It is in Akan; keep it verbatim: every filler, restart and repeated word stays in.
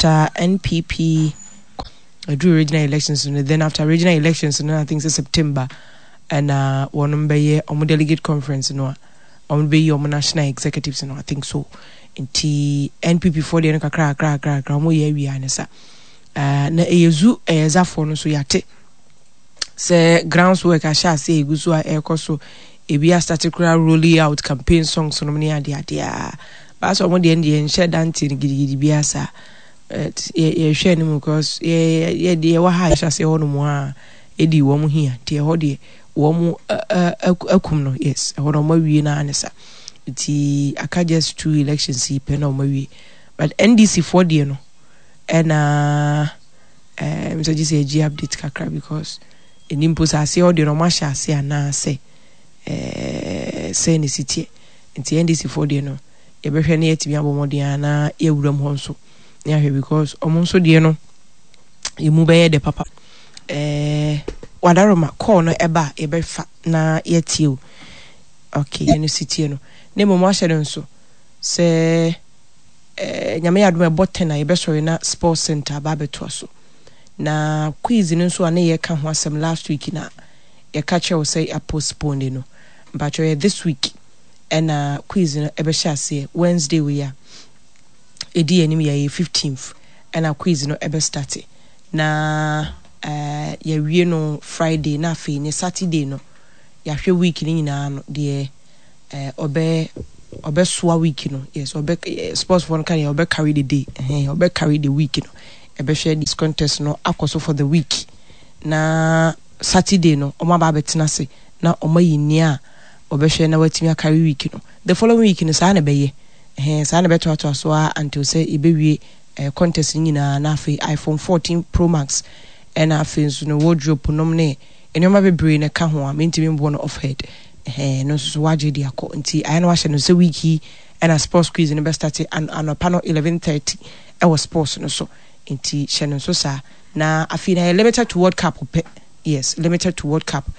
After N P P aduru regional elections no, then after regional elections no, I think sɛ September ɛna wɔnom bɛyɛ ɔmo delegate conference no a ɔmo bɛyi ɔmo national executives no, I think so. Nti N P P foɔ deɛ no, kakra kakra kakra kakra, ɔmo yɛ awia ne sa. uh, na ɛyɛ zu ɛyɛ zafoɔ no nso, yɛate sɛ grounds work ahyɛ ase egu so a ɛrekɔ so. Ebi astart koraa rolling out campaign songs no ne ade ade a baasa. Ɔmo deɛ deɛ nhyɛ dante no gidigidi bi asa. Yɛhwɛ anim because yɛ yɛ deɛ ɛwɔ ha yɛhyɛ ase hɔ nom a ɛdi wɔn hia, nti ɛhɔ deɛ wɔn akum no. Yes, ɛhɔ no wɔn awie naa ne sa, nti aka just two elections yi pɛ na wɔn awie. But N D C foɔ deɛ no, ɛna ɛɛ sɛ gye sɛ yɛgye update kakra because ɛni mpo sɛ aseɛ hɔ deɛ no, wɔn ahyɛ ase anaasɛ ɛɛ sɛ ne si teɛ. Nti N D C foɔ deɛ no, yɛbɛhwɛ ne yɛtumi abɔ mmɔden a na yɛwura mu hɔ nso ne ahwɛ because ɔmo nso deɛ no emu bɛyɛ dɛ papa. ɛɛ wadaroma call no ɛba a, yɛbɛfa na yɛtie o. Okay, yɛn si tie no na mmom ahyɛ no nso sɛ ɛɛ Nyame yɛ adom, ɛbɔ ten a, yɛbɛsɔre na sports center aba abɛtoa so. Na quiz no nso a ne yɛka ho asɛm last week na yɛka kyerɛ wo sɛ apostpone no, mpakyerɛ yɛ this week ɛna quiz no ɛbɛhyɛ aseɛ. Wednesday wei a ɛdi anim yɛ yɛ fifteenth ɛna quiz no ɛbɛstart na ɛɛ yɛwie no Friday, na afei ne Saturday no yɛahwɛ week no nyinaa no deɛ ɛɛ ɔbɛ ɔbɛsoa week no. Yes, ɔbɛ sports foɔ no ka deɛ ɔbɛ carry the day, ɛhɛn, ɔbɛ carry the week no. Ɛbɛhwɛ this contest no akɔ so for the week na Saturday no ɔmo aba abɛtena ase na ɔmo ayi nea a ɔbɛhwɛ na watumi acarry week no. The following week no, saa na ɛbɛyɛ, ɛhɛn, saa na ɛbɛtoatoa so a until sɛ yɛbɛwie ɛɛ contest no nyinaa. Na afei iPhone fourteen Pro Max, ɛna afei nso no wardrobe nom ne nneɛma bebree na ɛka ho a mentumi mboɔ no off head. Ɛhɛn, no nso so wagye de akɔ. Nti ayɛ na wahyɛ no sɛ week yi ɛna sports quiz no bɛstart an anɔpa no eleven thirty ɛwɔ sports no so. Nti hyɛ no nso saa. Na afei na yɛ limited to World Cup pɛ. Yes, limited to World Cup.